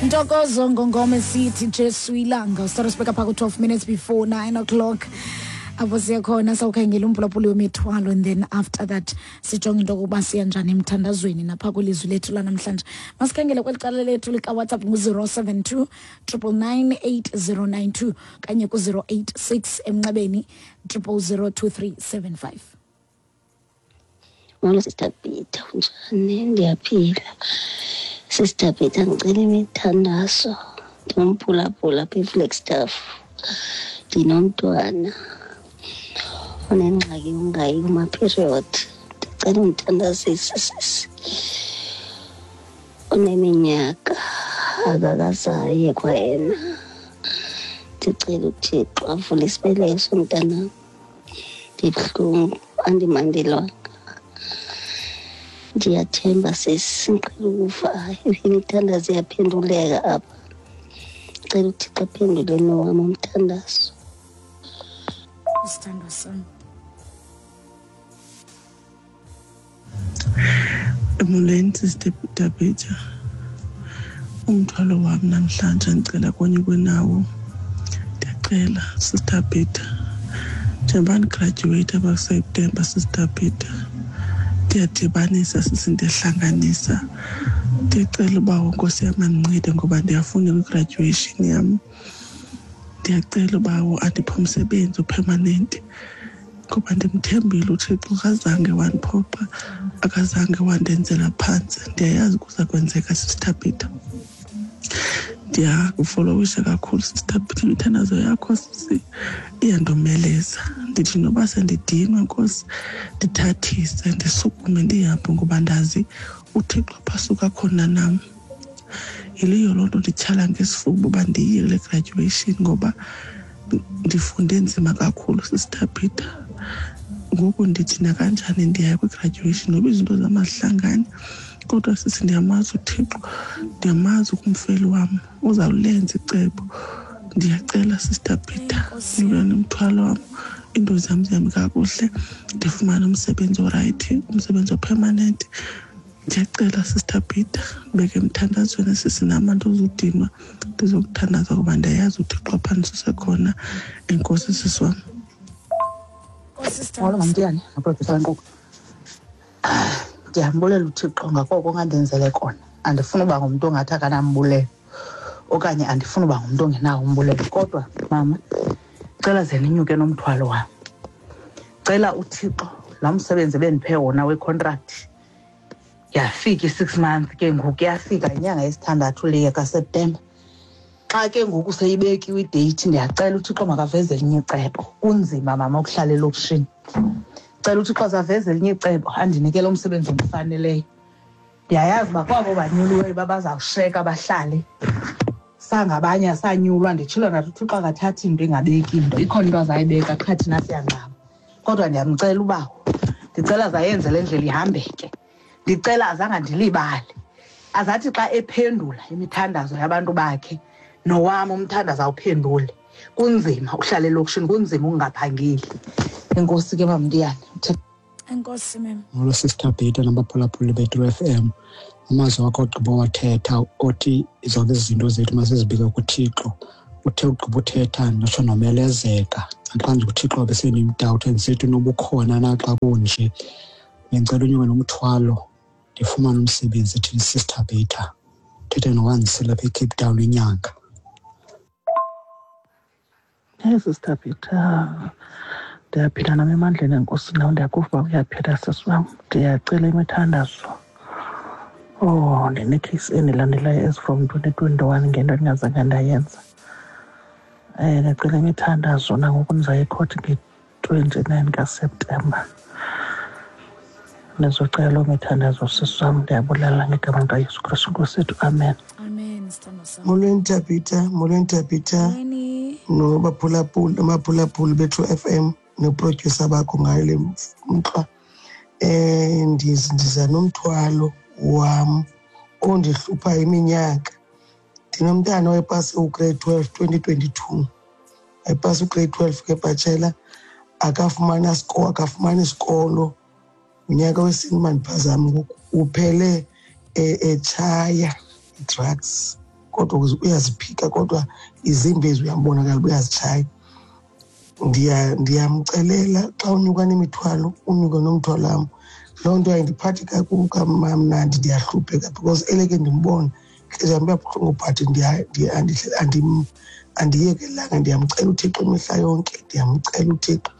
Ntokozo ngongoma esithi Jesu ilanga. Start sibeka pha ku-12 minutes before 9 o'clock, apho siye khona sawukhangela umphulaphuli wemithwalo, and then after that sijonge into yokuba siya njani emthandazweni napha kwilizwi lethu lanamhlanje. Masikhangele kweli cala lethu likaWhatsApp, ngu-072 999 8092 kanye ku-086 emnxebeni 0002375. Molo Sister Peter, unjani? Ndiyaphila. Sister Peter, ngicela imithandazo. Ndingumphulaphula apha eFlagstaff. Ndinomntwana onengxaki yongayi kuma-period. Ndicela undithandazise sisi. Uneminyaka akakazaye kwayena. Ndicela uThixo avule isibeleko somntanam. Ndibuhlungu, andimandelwanga. Ndiyathemba sisi, ndiqhela ukuva imithandazo iyaphenduleka apha. Cela uThixo aphendule nowam umthandazo. Sithandwa sam. Molweni Sister Tabitha. Umthwalo wam namhlanje ndicela konyukwe nawo. Ndiyacela Sister Peter. Njengoba ndigradyuweyitha apha kuSeptemba Sister Peter, ndiyadibanisa sisi, ndiyahlanganisa. Ndiyacela uba Nkosi yam andincede ngoba ndiyafuna kwi-graduation yam. Ndiyacela ubawo andiphe umsebenzi o-permanent ngoba ndimthembile uThixo, akazange wandiphoxa, akazange wandenzela phantsi. Ndiyayazi kuza kwenzeka Sister Peter. Ndiyakufollowisha kakhulu Sister Peter, imithandazo yakho sisi iyandomeleza. Ndithi noba sendidinwe Nkosi, ndithathise ndisukume ndihambe ngoba ndazi uThixo apha asuka khona nam. Yileyo loo nto ndityhala ngesifuba uba ndiye kule graduation ngoba ndifunde nzima kakhulu Sister Peter. Ngoku ndithi nakanjani ndiyaya kwi-graduation noba izinto zam azihlangani, kodwa sisi ndiyamazi uThixo, ndiyamazi kumfeli wam uzawulenza icebo. Ndiyacela Sister Peter, ndibe nomthwalo wam, iinto zam zihambe kakuhle, ndifumane umsebenzi orayithi, umsebenzi o-permanent. Ndiyacela Sister Peter, ndibeke emthandazweni sisi, nam andizudinwa, ndizokuthandaza kuba ndiyayazi uThixo apha ndisusekhona. Enkosi sisi wam. Molo Mamtiyane noprodyusa wenkqubo. Ndiyambulela uThixo ngakoko ongandenzele kona. Andifuni uba ngumntu ongathi akanambulelo okanye andifuni uba ngumntu ongenawo umbulelo, kodwa mama cela ze ninyuke nomthwalo wam. Cela uThixo laa msebenzi bendiphe wona wecontract, yafika i-6 months ke ngoku, yafika inyanga yesithandathu le kaSeptemba. Xa ke ngoku seyibekiwe ideyithi, ndiyacela uThixo makaveze elinye icebo. Kunzima mama ukuhlala elokishini. Cela uThixo azaveze elinye icebo, andinike lo msebenzi ondifaneleyo. Ndiyayazi uba kwabo banyuliweyo uba bazawusheka bahlale, sangabanye asanyulwa. Nditshilo nathi uThixo akathathi into engabeki into, ikhona into azayibeka qha thina siyangxama. Kodwa ndiyamcela ubawo, ndicela azayenze le ndlela ihambeke. Ndicela azangandilibale, azathi xa ephendula imithandazo yabantu bakhe nowam umthandazo awuphendule. Kunzima uhlala elokishini, kunzima ukungaphangeli. Enkosi ke Mamntiyane. Enkosi mem. Molo Sister Peter nabaphulaphuli bethu FM. Amazwi akho ogqiba wathetha othi zonke izinto zethu masizibike kuThixo. Uthe ugqiba uthetha ndatsho nomelezeka. Naxa nje uThixo besendimdawutha ndisithi nobukhona naxa kunje. Bendicela unyuke nomthwalo ndifumane umsebenzi ethini Sister Peter. Thethe noWandisile apha eCape Town inyanga. Hey Sister Peter, ndiyaphila nam emandleni enkosi, nawe ndiyakuva uba uyaphila sisi wam. Ndiyacela imithandazo. Oh, ndinekheyisi endilandelayo as from 2021 ngento endingazange ndayenza. Ndicela imithandazo nangoku ndizaya ekhothi nge-29 kaSeptemba. Ndizocela loo mithandazo sisi wam. Ndiyabulala ngegama likaYesu Kristu Nkosi yethu, amen. Amen sithandwa sam. Molweni Tabitha, molweni Tabitha. Molweni. Nobaphulaphuli, abaphulaphuli bethu FM noprodyusa bakho ngayo le mxwa. Ndiza nomthwalo wam ondihlupha iminyaka. Ndinomntana owayepase ugrade 12 2022. Wayepase ugrade 12 ke bachelor, akafumana siko, akafumana isikolo. Unyaka wesine mandiphazame ngoku, uphele etshaya drugs. Kodwa uyaziphika, kodwa izimbi uyambonakala uyazitshaya. Ndiyamcelela xa unyuka nemithwalo, unyuke nomthwalo wam. Loo nto ayindiphathi kamnandi, ndiyahlupheka because eleke ndimbone intliziyo yam iyabuhlungu, but andiyekelanga. Ndiyamcela uThixo imihla yonke, ndiyamcela uThixo.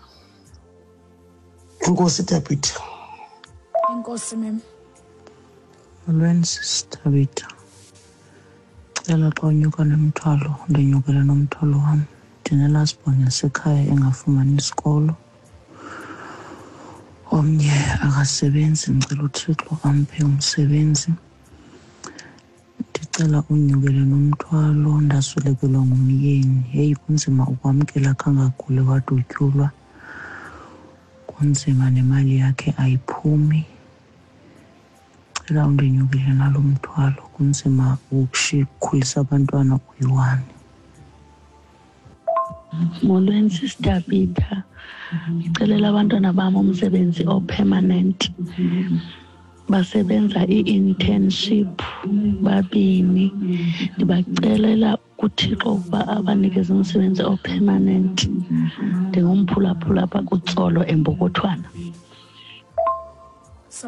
Enkosi Tabitha. Enkosi mem. Molweni sisi Tabitha. Cela xa unyuka nomthwalo ndinyukele nomthwalo wam. Ndine-last born yasekhaya engafumani isikolo. Omnye akasebenzi, ndicela uThixo amphe umsebenzi. Ndicela unyukele nomthwalo, ndaswelekelwa ngumyeni. Heyi, kunzima ukwamkela kangaguli wadutyulwa. Kunzima, nemali yakhe ayiphumi. Cela undinyukele nalo mthwalo, kunzima ukukhulisa abantwana uyi-one. Molweni Sister Peter, ndicelela abantwana bam umsebenzi o-permanent. Basebenza i-internship babini. Ndibacelela kuThixo ukuba abanikeze umsebenzi o-permanent. Ndingumphulaphula apha kuTsolo eMbokothwana.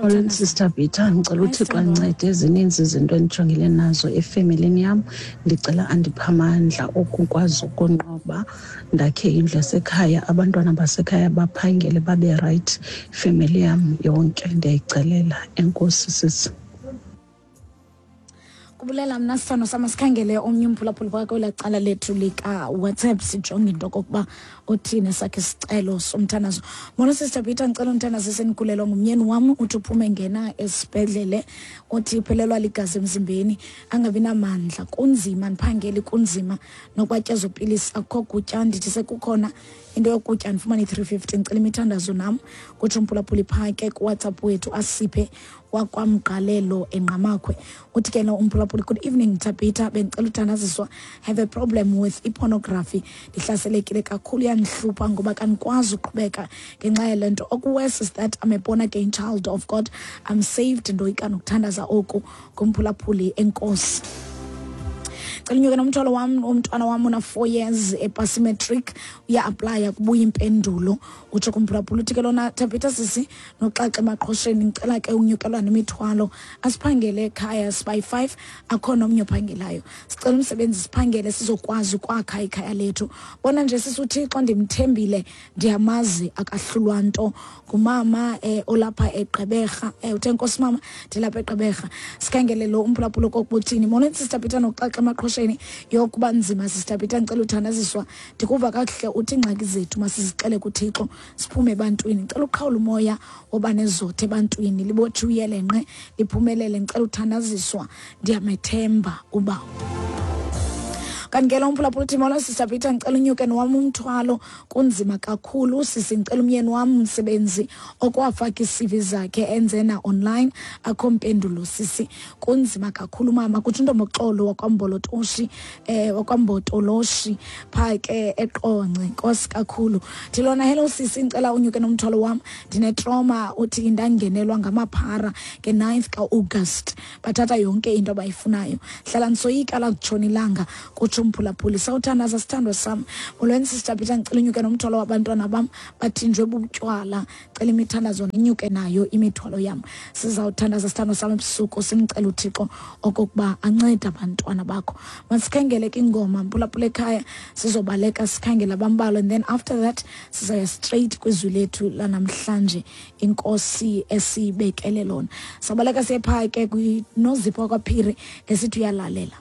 Molweni Sister Peter, ndicela uThixo andincede. Zininzi izinto endijongele nazo efemelini yam. Ndicela andiphe amandla okukwazi ukonqoba, ndakhe indlu yasekhaya, abantwana basekhaya baphangele babe rayithi, ifemeli yam yonke ndiyayicelela. Enkosi sisi. Kubulela mna sithando sama. Sikhangele omnye umphulaphuli phakathi kwelaa cala lethu lika-WhatsApp, sijonge into okokuba uthini sakhe isicelo somthandazo. Molo Sister Peter, ndicela umthandazo esenikhulelwa ngumyeni wam. Uthi uphume ngena esibhedlele, uthi uphelelwa ligazi emzimbeni, angabi namandla, kunzima ndiphangeli, kunzima nokwatya ezo pilisi, akukho kutya. Ndithi sekukhona into yokutya ndifumane i-350. Ndicela imithandazo nam, kutsho umphulaphuli phaa ke kuWhatsApp wethu Asiphe wakwamgqalelo eNgqamakhwe. Uthi ke lo umphulaphuli, good evening Tabitha, bendicela uthandaziswa, have a problem with i-pornography, ndihlaselekile kakhulu, iyandihlupha ngoba kandikwazi uqhubeka ngenxa yale nto. Oku-worse is that I'm a born again child of God, I'm saved, ndoyika nokuthandaza oku. Ngumphulaphuli. Enkosi. Cela unyuke nomthwalo wam, umntwana wam una-4 years, epasi matric, uya-applya kubuya impendulo, utsho kumphulaphula. Uthi ke lona, Tabitha sisi noxaxa emaqhosheni, ndicela ke unyukelwa nemithwalo, asiphangele ekhaya, sibayi-5, akho nomnye ophangelayo, sicela umsebenzi siphangele sizokwazi ukwakha ikhaya lethu. Bona nje sisi, uThixo ndimthembile, ndiyamazi akahlulwa nto. Ngumama olapha eGqeberha. Uthe nkosi mama, ndilapha eGqeberha. Sikhangele lo umphulaphula kokubuthini. Molweni Sister Peter noxaxa emaqhosheni. Yokuba nzima Sister Peter, ndicela uthandaziswa. Ndikuva kakuhle uthi iingxaki zethu masizixele kuThixo, siphume ebantwini. Ndicela uqhawula umoya woba nezothe ebantwini, libotshwe uyelenqe liphumelele. Ndicela uthandaziswa, ndiyamethemba ubawo. Kanti ke lo mphulaphula uthi, molo Sister Peter, ndicela unyuke nowam umthwalo, kunzima kakhulu sisi, ndicela umyeni wam umsebenzi, okwafaka ii-CV zakhe enze na-online, akho mpendulo sisi, kunzima kakhulu mama, kutsho intomboxolo wakwambolotoshi, wakwambotoloshi phaa ke eQonce. Nkosi kakhulu. Thilona, hello sisi, ndicela unyuke nomthwalo wam, ndine-trauma. Uthi ndangenelwa ngamaphara nge-9th ka-August, bathatha yonke into abayifunayo, hlala ndisoyika lakutshona ilanga, kutsho umphulaphuli. Sawuthandaza sithandwa sam. Molweni Sister Peter, ndicela unyuke nomthwalo wabantwana bam, bathinjwe bubutywala, cela imithandazo, ninyuke nayo imithwalo yam. Sizawuthandaza sithandwa sam ebusuku, simcela uThixo okokuba ancede abantwana bakho. Masikhangele ke ingoma, mphulaphula ekhaya, sizobaleka sikhangele abambalwa and then after that sizaya straight kwizwi lethu lanamhlanje inkosi esiyibekele lona. Sabaleka siye phaa ke kwinozipho wakwaphiri esithi uyalalela.